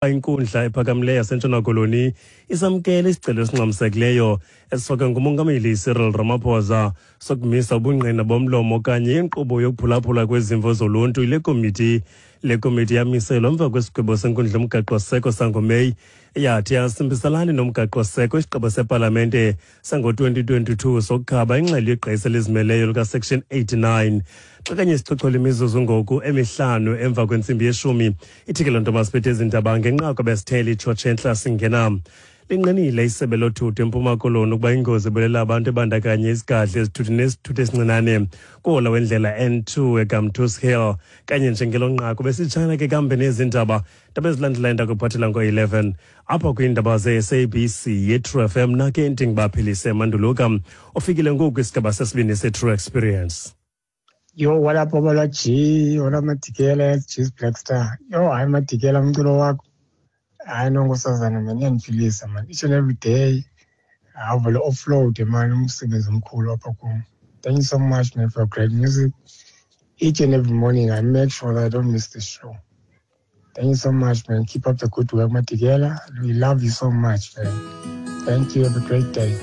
Inkundla ephakamileyo yaseNtshona Koloni isamkele isicelo esingxamisekileyo esifakwe nguMongameli Cyril Ramaphosa sokumisa ubungqina bomlomo okanye inkqubo yokuphulaphula kwezimvo zoluntu yile komiti. Le komiti yamiselwa emva kwesigwebo senkundla yomgaqo-siseko sangoMeyi eyathi asimbisalani nomgaqo-siseko isigqibo sepalamente sango-2022 sokukhaba ingxelo yegqisa elizimeleyo likaSection 89. Xa kanye sichochola imizuzu ngoku emihlanu emva kwentsimbi yeshumi, ithi ke loo nto masiphethe ezi ndaba ngenqaku ebesithele itshotshe entla singena. Linqinile isebe lothutho eMpuma Koloni ukuba ingozi ebulela abantu ebandakanye isigadle esithuthi nesithuthi esincinane kuhola wendlela N2 eGamtoos Hill. Kanye njengelo nqaku besitshana ke kambe nezi ndaba, ndaba ezilandelayo ndakuphathela ngo-11 apha kwiindaba ze-SABC yeTrue FM. Nake ndingibaphilise Manduluka ofikile ngoku isigaba sesibini seTrue Experience. Yo, what up, Obalwa G? What up, Madikela? G's Black Star. Yo, hayi Madikela, umculo wakho. Hayi nonkosazana man, iyandiphilisa man. Each and every day. Awuvele offload man, umsebenzi omkhulu apha kum. Thank you so much man for great music. Each and every morning I make sure that I don't miss the show. Thank you so much man. Keep up the good work, Madikela. We love you so much man. Thank you. Have a great day.